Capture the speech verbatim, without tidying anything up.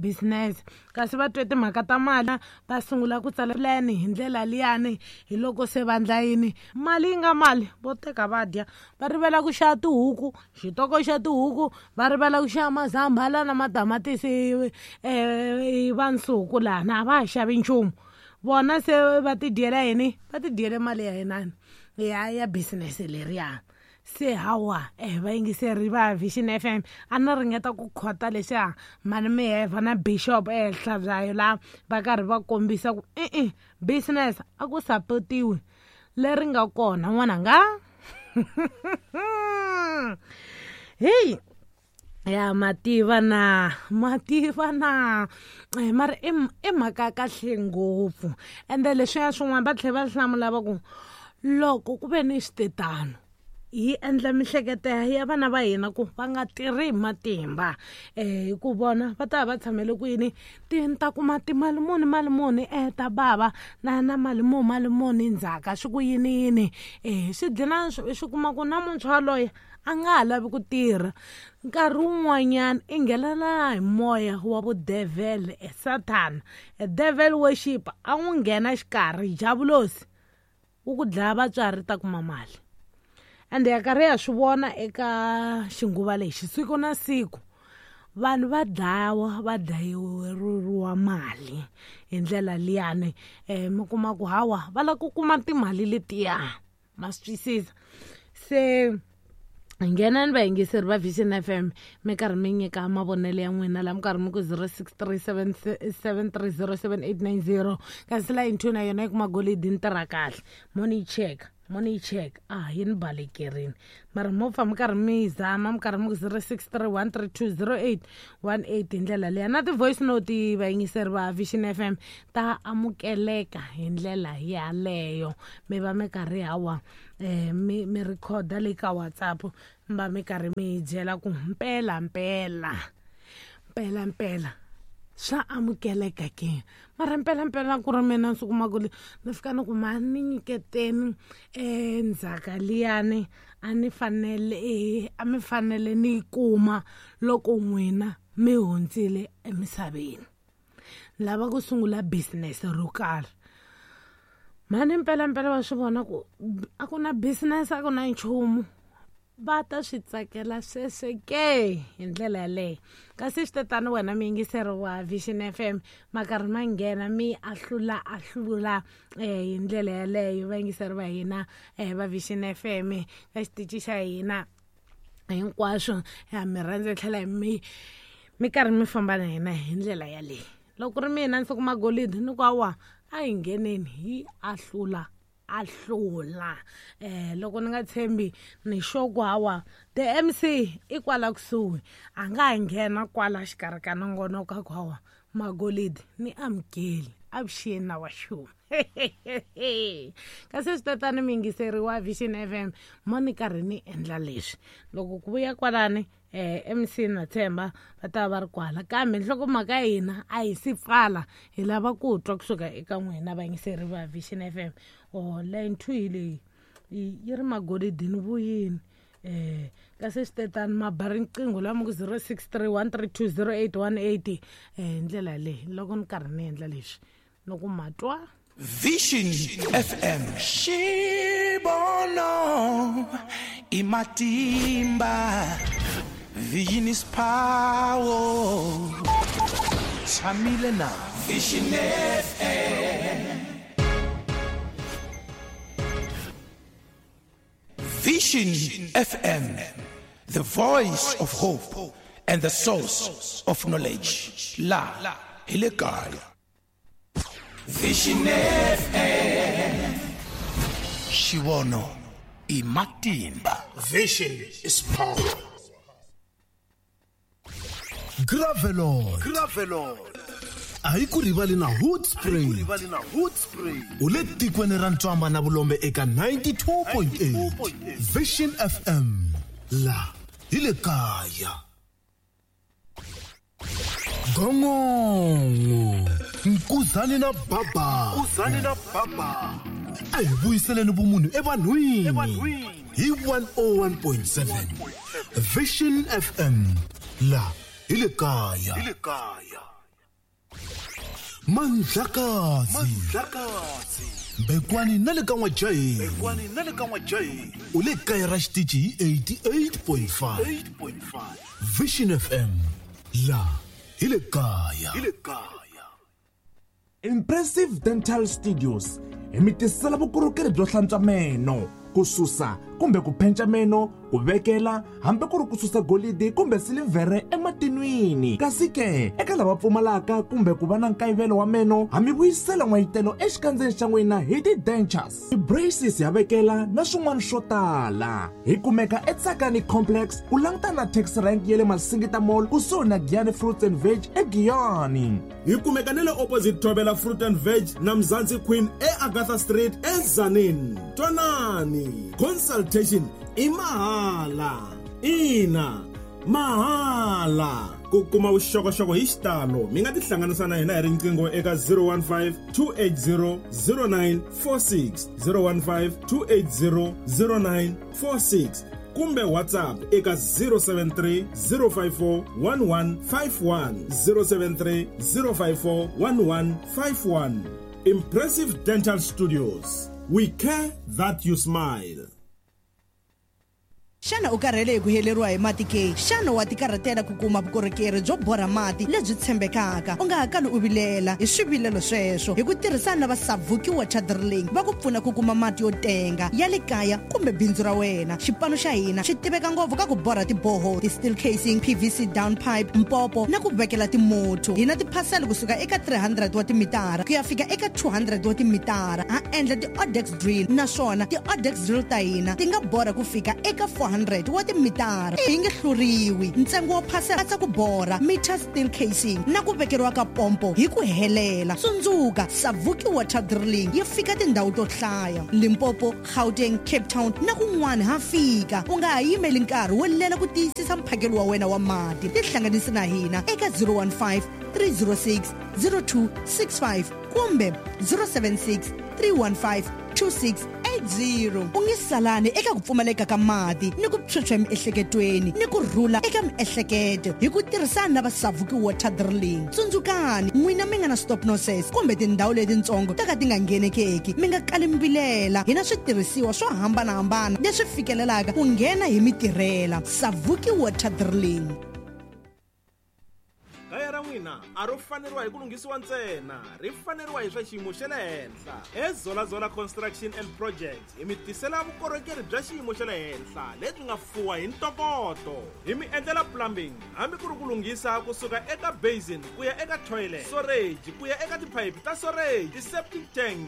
Business kasi va twe timhaka ta mali, va sungula ku tsala plan hi ndlela liyani. Hi loko se va ndla yini, mali yi nga mali vo teka va dya, va rivela ku xava tihuku, xitoko xa tihuku, va rivala ku xava mazambhala na matamatisi um va nsuku lana a va ha xavi nchumu. Vona se va ti dyela yini, va ti dyele mali ya yinani ya ya business leriya. Se hawa eh vayingiseri va Vision F M, a ni ringeta ku khota leswiya mani miheva na Bishop ehenhla byayo laha va karhi va kombisa ku e-e business a ku sapotiwi leri nga kona n'wananga. Hey ya mativa na mativa na eh, mara i i mhaka ya kahle ngopfu. Ende leswiya swin'wana va tlhela va hlamula va ku loko ku ve ni switetano yi endla mihleketo ya vana va hina ku va nga tirhi hi matimba, eh hi ku vona va ta va tshamele ku yini, ti ta kuma timali muni mali muni eh ta bava na na mali muni mali muni ndzhaka swi ku yini yini. Eh swi dlina swi kuma ku na muntshwa loyi a nga ha lavi ku tirha, nkarhi wun'wanyana i nghenela hi moya wa vudevhele, e Satan, e devil worship, a n'wi nghena xikarhi javulosi wu ku dlaya vatswari ta kuma mali. Ende ya karhi ya swi vona eka xinguva lexi siku na siku vanhu va dlawa va dlayeriwa mali hi ndlela liyani. um mi kuma ku hawa va lava ku kuma timali letiya, ma swi twisisa. Se nghenani vayingiseri va Vision F M mi karhi mi nyika mavonelo ya n'wina laha mi karhi mi ku zero six three seven seven three zero seven eight nine zero. Kasi line two na yona yi kuma golidi ni tirha kahle, mo ni yi cheka mo ni yi cheka ah yi ni balekerini, mara mo pfa mi karhi mi zama mi karhi mi ku zero six three one three two zero eight one eight hi ndlela liya. Na ti-voice note vayingiseri va Vision F M ta amukeleka hi ndlela yaleyo, mi va mi karhi hawa eh mi mi recorda le ka WhatsApp mi va mi karhi mi byela ku mpela mpela mpela mpela swa amukeleka ke. Mara mpela mpela ku ri mina ndzi kuma ku ni fika ni ku ma ni nyiketeni um ndzhaka liyani a ni fanele a mi fanele ni yi kuma loko n'wina mi hundzile emisaveni, lava ku sungula business ro karhi. Mani mpela mpela va swi vona ku a ku na business a ku na nchumu, va ta swi tsakela sweswe ke hi ndlela yaleyo. Kasi swi tatani wena muyingiseri wa Vision F M ma karhi ma nghena mi ahlula ahlula eh hi ndlela yaleyo vayingiseri va hina eh va Vision F M ka xitichi xa hina hinkwaswo ya mi rhandza tlhela hi mi mi karhi mi famba na hina hi ndlela yaleyo. Loko ri mina ndzi kuma golidi ni ku awa a hi ngheneni hi ahlula ahlula. Eh loko ni nga tshembi ni xoko hawa the M C i kwala kusuhi a nga nghena kwala xikarhi ka nongonoko ku hawa magolidi ni amukeli avuxeni na wa xuma. Kasi swi tatani miyingiseri wa Vision F M mo ni karhi ni endla leswi loko ku vuya kwalani eh M C na Themba va ta va ri kwala, kambe nhlokomhaka ya hina a hi si pfala, hi lava ku twa kusuka eka n'wina vayingiseri va Vision F M. Oh line two hi leyi yi ri magolidi ni vuyini. Eh kasi swi tetani ma ba riqingho la mi ku zero six three one three two zero eight one eight eh hi ndlela leyi loko ni karhi ni endla leswi loko ma twa Vision F M Xibono i matimba, Vision is power. Tshamile na Vision F M. Vision F M, the voice of hope and the source of knowledge. La hi le kaya. Vision F M. Xivono i matimba. Vision is power. Gravelon. Gravelon. A hi ku rivali na Hood Spring. U le tikweni ra Ntswamba na Vulombe eka ninety-two point eight. Vision F M. La hi le kaya. Gongongo. Nkuzani na baba. Nkuzani na baba. A hi vuyiseleni vumunhu evanhwini. Hi one oh one point seven. Vision F M. La hi le kaya. Hi le kaya. Mandlakazi Mbekwani na le ka N'wajaheni u le kaya ra xitichi hi eighty-eight point five Vision F M, la hi le kaya. Impressive Dental Studios hi mi tisela vukorhokeri byo hlantswa meno, ku susa kumbe ku penca meno, ku vekela hambi ku ri ku susa golidi kumbe silivhere ematinwini. Kasi ke eka lava pfumalaka kumbe ku va na nkayivelo wa meno, ha mi vuyisela n'wayitelo exikandzeni xa n'wina hi ti-dentures, ti-braces, ya vekela na swin'wana swo tala. Hi kumeka eTsakani Complex, ku langutana na taxi rank ya le Masingita Mall, kusuhi na Giyani Fruits and Veg eGiyani. Hi kumeka ni le opposite Thobela Fruit and Veg na Mzansi Queen eAgatha Street eTzaneen. Twanani, consultation i mahala, ina mahala. Ku kuma vuxokoxoko hi xitalo, mi nga tihlanganisa na hina hi riqingho eka zero one five, two eight zero, zero nine four six, zero one five, two eight zero, zero nine four six, kumbe WhatsApp eka zero seven three, zero five four, one one five one, zero seven three, zero five four, one one five one. Impressive Dental Studios, we care that you smile. Xana u karhele hi ku heleriwa hi mati ke? Xana wa tikarhatela ku kuma vukorhokeri byo borha mati lebyi tshembekaka? U nga ha kali u vilela hi swivilelo sweswo. Hi ku tirhisana na va Savuki Water Drilling, va ku pfuna ku kuma mati yo tenga ya le kaya kumbe bindzu ra wena. Xipano xa hina xi tiveka ngopfu ka ku borha tiboho, ti-steel casing, P V C down pipe, mpopo na ku vekela timotho. Hi na tiphasela kusuka eka three hundred wa timitara ku ya fika eka two hundred wa timitara. Ha endla ti-odex drill, naswona ti-odex drill ta hina ti nga borha ku fika eka four hundred wa timitara, hi nge hluriwi. Ntsengo wo phasela katsa ku borha meter, steel casing na ku vekeriwa ka pompo hi ku helela. Tsundzuka, Savuki Water Drilling yi fika tindhawu to hlaya: Limpopo, Gauteng, Cape Town na kun'wana ha fika. U nga ha yimeli nkarhi wo lela ku tiyisisa mphakelo wa wena wa mati. Tihlanganisi na hina eka zero one five, three zero six, zero two six five kumbe zero seven six, three one five, two six eight zero. U nge salani eka ku pfumaleka ka mati ni ku phyuphya emiehleketweni ni ku rhula eka miehleketo hi ku tirhisana na va Savuki Water Drilling. Tsundzukani, n'wina mi nga na stop nonsense kumbe tindhawu letitsongo ta ka ti nga nghenekeki, mi nga kali mbilela. Hi na switirhisiwa swo hambanahambana leswi fikelelaka ku nghena hi mitirhela. Savuki Water Drilling. Kaya ra n'wina a ro faneriwa hi ku lunghisiwa ntsena, ri faneriwa hi swa xiyimo xa le henhla. EZolazola Construction and Projects hi mi tisela vukorhokeri bya xiyimo xa le henhla lebyi nga fuwa hi ntokoto. Hi mi endlela plumbing, hambi ku ri ku lunghisa kusuka eka basin ku ya eka toilet, storage ku ya eka tiphayiphi ta storage, ti-septic tank.